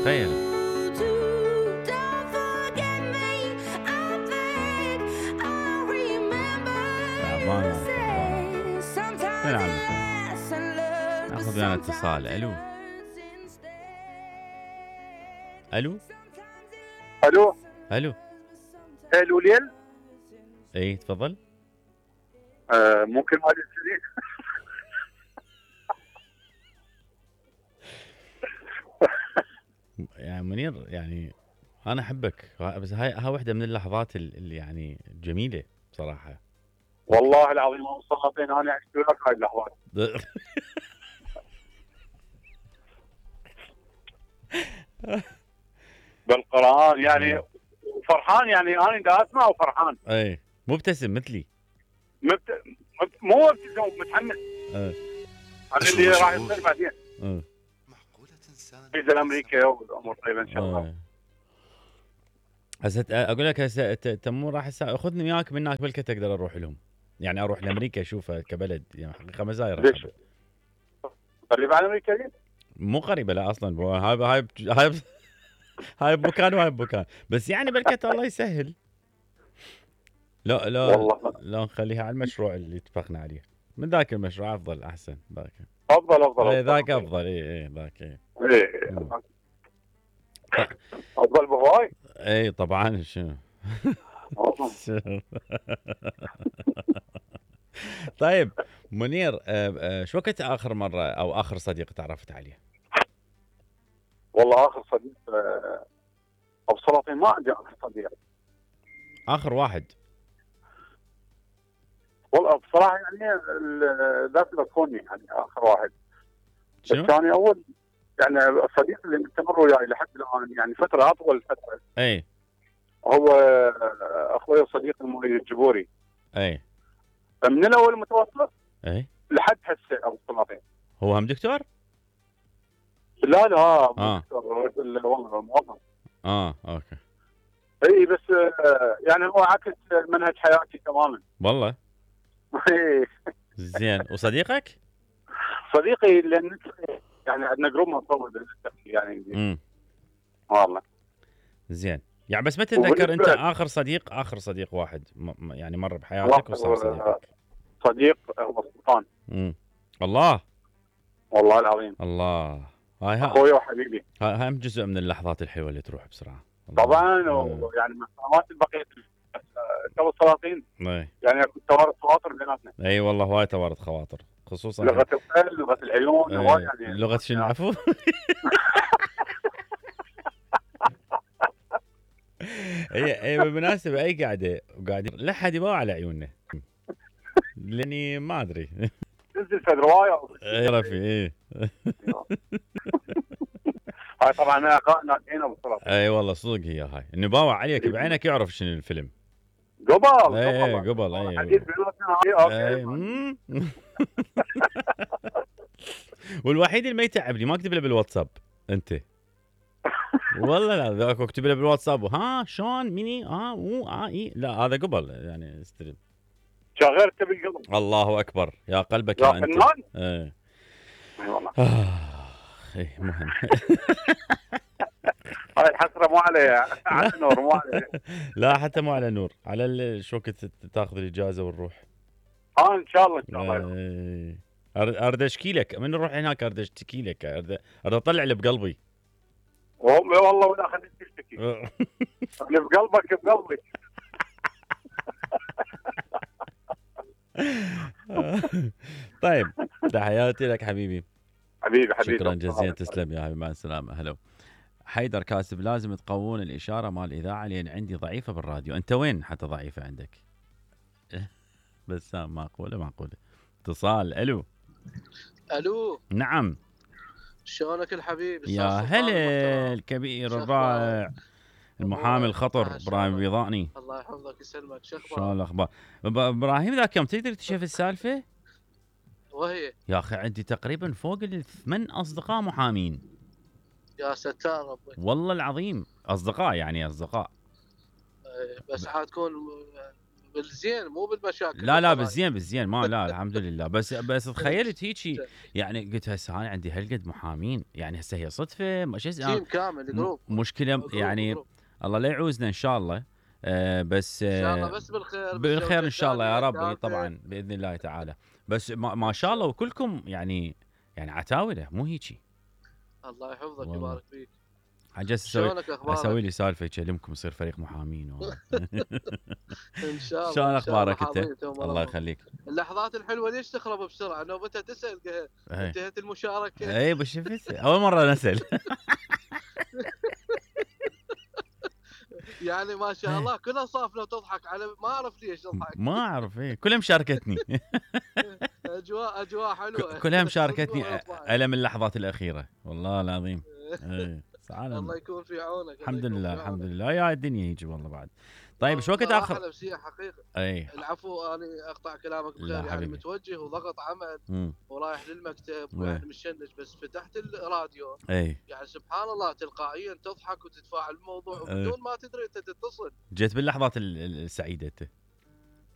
تخيل. تعبان تعبان. ناخذ ويانا اتصال. الو الو الو الو الو ليل. اي تفضل. ممكن مالي الصديق. يعني منير، يعني انا احبك، بس هاي وحده من اللحظات اللي يعني جميله بصراحه. والله العظيم مصطفى انا عشت وياك هاي اللحظات بالقران يعني فرحان، يعني انا دا اسمع وفرحان. اي مبتسم مثلي. مو مبتسم، متحمس عن اللي راح يصير بعدين. فيزا امريكا والامور طيبه ان شاء الله. هسه اقول لك، هسه تمور راح خذني وياك من هناك بلكي اقدر اروح لهم، يعني اروح لامريكا اشوفها كبلد، يعني حقيقه مزايا. ليش؟ قريب على امريكا دي؟ مو قريبه لا اصلا، هاي بمكان وهاي بمكان، بس يعني بلكي الله يسهل. لا والله لا نخليها على المشروع اللي اتفقنا عليه، من ذاك المشروع افضل احسن. ذاك افضل ذاك افضل. اي ذاك اي افضل بهواي. اي طبعا. شنو طيب منير، شو وقت اخر مره او اخر صديق تعرفت عليه؟ والله اخر صديق ابو سلاطين، ما عندي اخر صديق. اخر واحد والله بصراحه يعني ذاك الكوني يعني اخر واحد. شنو؟ الثاني اول، يعني الصديق اللي مستمر وياي لحد الان، يعني فتره اطول فتره. اي هو اخوي الصديق المريد الجبوري. اي من الاول المتوسط اي لحد هسه ابو سلاطين. هو هم دكتور؟ لا دكتور، والله موظف. اوكي. اي بس يعني هو عكس منهج حياتي تماما. والله زين. وصديقك؟ صديقي لان يعني عندنا جروب مطول يعني. والله زين. يعني بس ما تتذكر انت اخر صديق واحد يعني مر بحياتك وصار صديقك؟ صديق هو سلطان. الله والله العظيم. الله. اخوي وحبيبي. هاي هم جزء من اللحظات الحلوه اللي تروح بسرعه طبعا. ويعني من السنوات البقيه تو السلاطين يعني توارد خواطر بيناتنا. اي والله هواي توارد خواطر، خصوصا لغه القلب، لغه العيون، هواي يعني. لغه شنو؟ عفو. اي بالمناسبه اي قاعده لا حد يباوع على عيوننا لاني ما ادري تنزل في روايه. اي رفي اي هاي طبعا ناجحين ابو سلاطين. اي والله صدق هي هاي، انه باوع عليك بعينك يعرف شنو الفيلم. قبل اي حديث بيناتنا. والوحيد اللي ما يتعبني ما اكتب له بالواتساب انت. والله لا ذاك اكتب له بالواتساب ها شلون مني اي لا هذا قبل يعني استلم. شغلت بالقلب. الله اكبر يا قلبك يا انت. اي والله. مهم. هاي الحسره مو عليها، على النور مو عليها. لا حتى مو على نور، على شو وقت تاخذ الاجازه ونروح. ان شاء الله. اريد اشكي لك من نروح هناك، اريد اشتكي لك، اريد اطلع اللي بقلبي. والله ولا خليك تشتكي. اللي بقلبك بقلبك. طيب تحياتي لك حبيبي. حبيبي شكرا جزيلا، تسلم يا حبيبي، مع السلامه. هلا. حيدر كاتب لازم تقوون الاشاره مال الاذاعه لان عندي ضعيفه بالراديو. انت وين حتى ضعيفه عندك؟ بس معقوله. اتصال. الو نعم. شلونك الحبيب؟ يا هلا الكبير الرائع المحامي الخطر ابراهيم البيضاني. الله يحفظك يسلمك. شو اخبارك؟ شلون الاخبار؟ ابراهيم ذاك يوم تقدر تشوف السالفه؟ وهي يا اخي عندي تقريبا فوق ال8 اصدقاء محامين. يا ستار ربي. والله العظيم اصدقاء يعني اصدقاء. بس عاد تكون بالزين مو بالمشاكل. لا بالزين ما لا الحمد لله. بس تخيلت هيجي يعني قلت هسه انا عندي هالقد محامين يعني هسه هي صدفه ما تيم كامل جروب مشكله يعني جروب. الله لا يعوزنا ان شاء الله. بس ان شاء الله بس بالخير بالخير ان شاء الله يا رب طبعا باذن الله تعالى. بس ما شاء الله وكلكم يعني عتاوله مو هيجي. الله يحفظك ويبارك فيك. عجزت اسوي لي سالفه يكلمكم يصير فريق محامين ان شاء الله. شلون اخبارك انت؟ الله يخليك. اللحظات الحلوه ليش تخرب بسرعه؟ نوبتها تسال انتهت المشاركه. اي بس شفت اول مره نسال. يعني ما شاء الله كلها صافنه وتضحك على ما اعرف ليش تضحك. ما اعرف كلها مشاركتني. اجواء حلوه كلها مشاركتني الا من اللحظات الاخيره والله العظيم. الله يكون في عونك. الحمد لله يا الدنيا يجي والله بعد. طيب شو وقت اخر نفسيه حقيقه. اي العفو انا اقطع كلامك بخير يعني متوجه وضغط عمل ورايح للمكتب ويعني مشنج بس فتحت الراديو يعني سبحان الله تلقائيا تضحك وتتفاعل بالموضوع بدون ما تدري انت تتصل. جيت باللحظات السعيده انت.